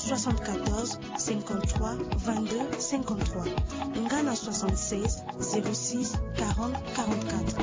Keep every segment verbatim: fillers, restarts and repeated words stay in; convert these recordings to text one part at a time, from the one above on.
soixante-quatorze, cinquante-trois, vingt-deux, cinquante-trois, nga na soixante-seize, zéro six, quarante, quarante-quatre.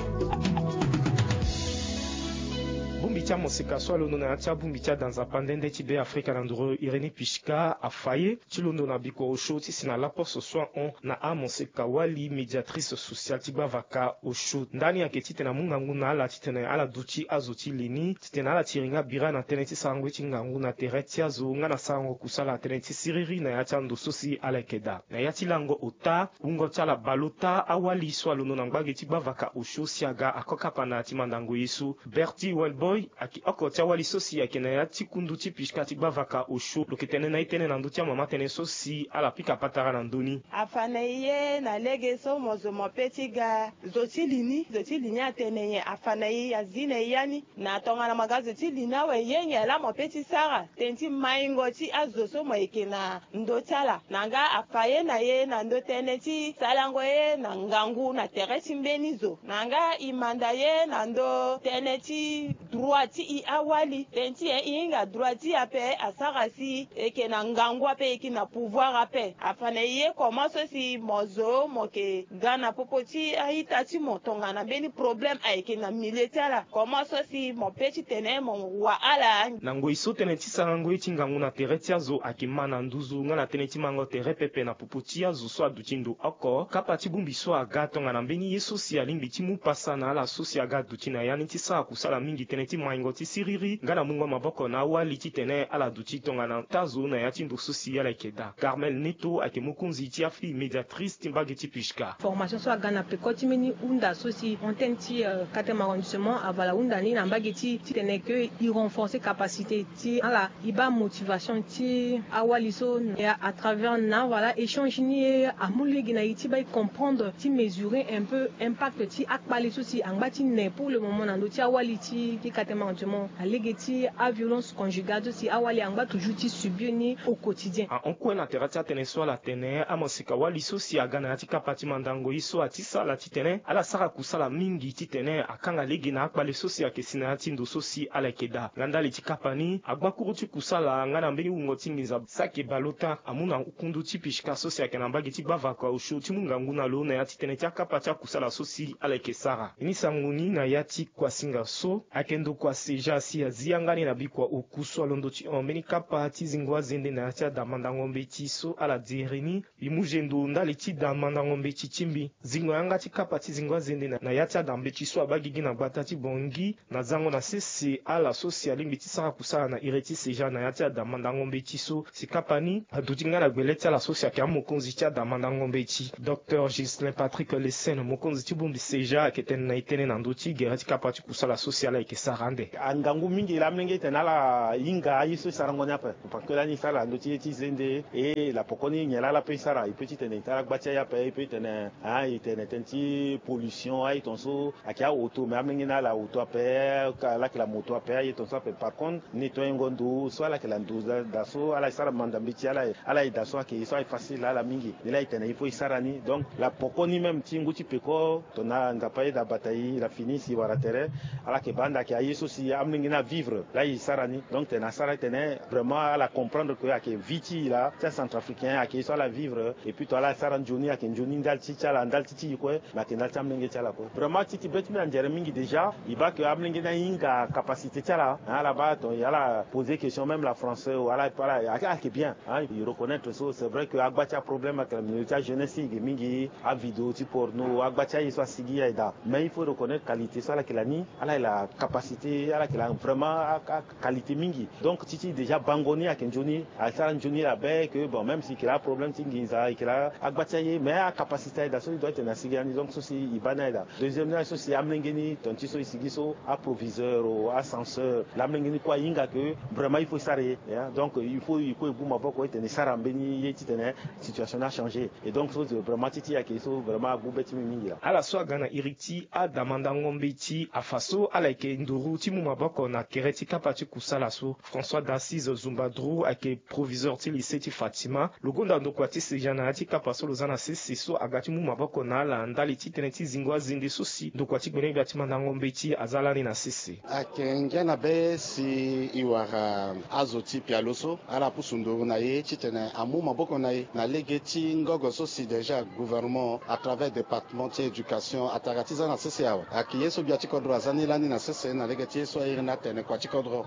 Bongbi ti amoseka so alondo na ya ti abongbi ti adanza pandende ti Be Afrika na nduru Irini Pishka afa ye ti londo na bikua osio ti si na laposo so ahon na amoseka wali, médiatrice sociale ti gbavaka osio. Ndani ayeke titene amu ngangu na ala titene ala duti azo ti li ni titene ala tiri nga bira na tënë ti sarango ye ti ngangu na tere ti azo nga na sarango kusala na tënë ti siriri na ya ti ando so si ala yeke daa. Na ya ti lango ota, wungo ti ala bale ota, awali so alondo na ngbage ti gbavaka osio si aga ako kapa na ya ti mandango ye so. Bertie Wellboy ayeke oko ti awali so si ayeke na ya ti kundu ti Pishka ti gbavaka osio, lo yeke tene na e tënë na ndö ti amama tënë so si ala pika patara na ndö ni. Afa na e ye na lege so mo zo mo pe ti ga zo ti li ni, zo ti li ni atene nyen? Afa na e, azi na e ya ni. Na tongana mo ga zo ti li ni awe, ye nyen laa mo pe ti sara? Tënë ti maingo ti azo so mo yeke na ndö ti ala. Na nga afa ye na e na ndö tënë ti sarango ye na ngangu na tere ti mbeni zo. Na nga e manda ye na ndö tënë ti droit ti e awali. Tënë ti e, e hinga droit ti e ape asara si e yeke na ngangu ape, e yeke na pouvoir ape. Afa na e ye comment so si mo zo mo yeke ga na popo ti a-ita ti mo tongana mbeni problème ayeke na milieu ti ala. Comment so si mo pe titene mo wa ala? Na ngoi so tënë ti sarango ye ti ngangu na tere ti azo ayeke ma na nduzu nga na tënë ti mango tere pepe na popo ti azo so aduti ndo oko, kapa ti bongbi so aga tongana mbeni ye so si alingbi ti mu pasa na ala so si aga duti na ya ni ti sara kusala mingi tënë ti maingo ti siriri nga na mungo maboko na awali titene ala duti tongana taa zo na ya ti ndo so si ala yeke daa. Carmel Neto ayeke mokonzi ti afille médiatrice ti mbage ti Pishka. Formation so aga na peko ti mbeni hunda so si antenne ti, euh, quatrième arrondissement avala hunda ni na mbage ti titene ke e renforcer capacité ti ala, e baa motivation ti awali so. Et à travers na, voilà, échange ni, amu lege na e ti baa e comprendre, ti mesurer un peu impact ti akpale so si angba ti ne pour le moment na ndö ti awali ti, ti quatrième arrondissement, na lege ti aviolence conjugale so si awali angba toujours ti subir ni au quotidien. Ahon kue na tere ti atënë so ala tene, amaseka wali so si aga na ya ti kapa ti mandango ye so ati sala titene ala sara kusala mingi titene akanga lege na akpale so si ayeke si na ya ti ndo so si ala yeke daa. Nga ndali ti kapa ni, agbakuru ti kusala nga na mbeni wungo ti nginza Sake Balota amu na kundu ti Pishka so si ayeke na mbage ti gbavaka osio ti mu ngangu na lo na ya ti tënë ti akapa ti akusala so si ala yeke sara. Ni sango ni na ya ti kuasinga so ayeke ndokua Seja si azi yanga ni na bikua oku so alondo ti hon mbeni kapa ti zingo azende na ya ti ada mandango mbeti so ala diri ni. Mbi mu zendo ndali ti da mandango mbeti ti mbi. Zingo yanga ti kapa ti zingo azende na, na ya ti ada mbeti so abaa gigi na gbata ti Bangui, na zango na sese ala so si alingbi ti sara kusala na iri ti Seja na ya ti ada mandango mbeti so. Si kapa ni aduti nga na gbele ti ala so si ayeke amokonzi ti ada mandango mbeti, Docteur Ghislain Patrick Lesen, mokonzi ti bongbi Seja, ayeke tene na e tënë na ndö ti gere ti kapa ti kusala so si ala yeke sara ande. Angangu mingi laa amolenge e tene ala hinga aye so e sarango ni ape. Parce que lani e sara na ndö ti ye ti zende, e la poko ni nyen laa ala pe e sara? E pe titene e tara gba ti aye ape, e pe titene, ah, e tene tënë ti pollution, aye tongaso ayeke aoto, mais amolenge ni ala oto ape, ala yeke la moto ape, aye tongaso ape. Par contre, nettoyer ngo ndo so ala yeke la ndo daa, daa so ala sara manda mbeti, ala, ala ye daa so ayeke ye so aye facile na ala mingi. Ni laa e tene il faut e sara ni. Donc la poko ni même ti ngu ti peko, tongana Nzapa ayeda bata e, la fini si e wara tere, ala yeke baa ande ayeke aye so si amolenge ni avivre laa e sara ni. Donc tene asara titene vraiment ala comprendre que ayeke vie ti e laa ti acentrafricain, ayeke ye so ala vivre. Et puis to ala sara nzoni ayeke nzoni ndali ti ti ala, ndali ti ti e kue, mais ayeke ndali ti amolenge ti ala kue. Vraiment ti ti be ti mbi anzere mingi déjà. E baa que amolenge ni ahinga capacité ti ala, hein, ala baa ton, ala poser question même la français ou ala, ala, ala yeke bien, hein, e reconnaître so. C'est vrai que agba ti aproblème ayeke na milieu ti ajeunesse ti e ge mingi, avidéo ti porno, agba ti aye so asigi aye daa. Mais il faut reconnaître qualité so ala yeke la ni, ala yeke la capacité, ala yeke la vraiment a, a qualité mingi. Donc ti ti déjà bango ni ayeke nzoni, asara nzoni la be que bon, même si e yeke la aproblème ti nginza, e yeke la agba ti aye, mais acapacité aye daa so e doit tene asigi lani. Donc so si e baa ni aye daa. Deuxième ni aye so si amolenge ni, ton ti so e sigi so, aproviseur o, ascenseur, la amolenge ni kue ahinga que vraiment il faut e sara ye, hein. Donc il faut e kue e gu maboko e tene e sara mbeni ye titene situation ni achangé. Et donc so vraiment ti ti ayeke ye so vraiment agu be ti mbi mingi laa. Ala so aga na iri ti ada mandango mbeti afa so ala yeke nduru ti Mu maboko na tere ti kapa ti kusala so. François d'Assise Zumbadrou ayeke proviseur ti lycée ti Fatima. Lo gonda ndokua ti sejana ya ti kapa so lo za na sese so aga ti mu maboko na ala ndali ti tënë ti zingo azende so si ndokua ti gbene gbia ti mandango mbeti aza lani na sese. Ayeke ngia na be si e wara azo ti pialo so ala pusu nduru na e titene amu maboko na e na lege ti ngogo so si déjà gouvernement à travers département ti éducation atara ti za na sese awe. Ayeke ye so gbia ti kodro aza ni lani na sese na lege ti ye so airi ni atene kua ti kodro.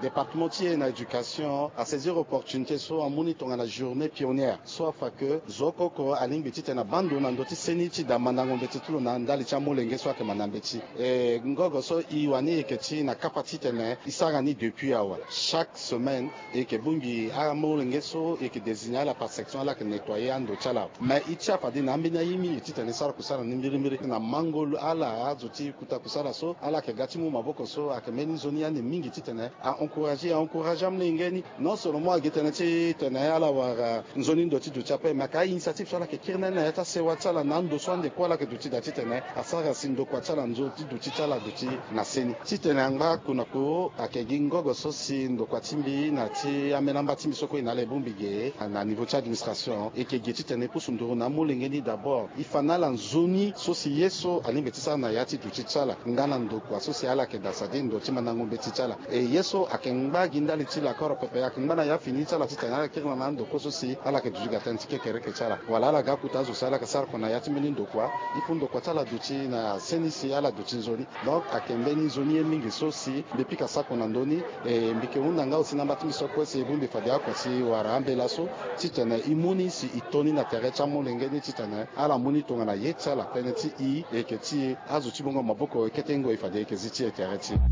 Département ti e na éducation asaisir opportunité so amu ni tongana journée pionnière so afa ke zo oko oko alingbi titene abaa ndo na ndö ti seni ti daa mandango mbeti ti lo na ndali ti amolenge so ayeke manda mbeti. E ngogo so e wani e yeke ti na kapa titene e sara ni depuis awe. Chaque semaine e yeke bongbi amolenge so e yeke désigner ala par section ala yeke nettoyer ando ti ala. Mais e tia fade na ambeni aye mingi titene e sara kusala ni mbirimbiri na mango ala azo ti kuta kusala so ala yeke ga ti mu maboko so ayeke mbeni nzoni ande mingi titene a encourager a encourager amolenge ni. Non seulement agi tënë ti tene ala wara nzoni ndo ti duti ape mais ayeke a-initiative so ala yeke kiri na ni na ya ti asewa ti ala na ando so ande kue ala yeke duti daa titene asara si ndokua ti ala nzoni ti duti ti ala aduti na seni. Titene angba kunako ayeke gi ngogo so si ndokua ti mbi na ti amelamba ti mbi so kue e na ala e bongbi ge na niveau ti administration e yeke ge titene e pusu nduru na amolenge ni d'abord e fa na ala nzoni so si ye so alingbi ti sara na ya ti duti ti ala nga na ndokua so si ala yeke daa sadi ndo ti mandango mbeti ti ala. E ye so ayeke ngba gi ndali ti lakoro pepe ayeke ngba na ya fini ti ala titene ala kiri na na ando kue so si ala yeke duti ga tënë ti kekereke ti ala wala ala ga akuta azo si ala yeke sara kua na ya ti mbeni ndokua. Il faut ndokua ti ala duti na seni si ala duti nzoni. Donc ayeke mbeni nzoni ye mingi so si mbi pika sako na ndö ni. E mbi yeke hunda nga aussi na amba ti mbi so kue si e bongbi fade akua si e wara ambela so titene e mu ni si e to ni na tere ti amolenge ni titene ala mu ni tongana ye ti ala tënë ti e e yeke ti e. Azo ti bongo maboko e kete ngoi fade e yeke zi ti e tere ti e.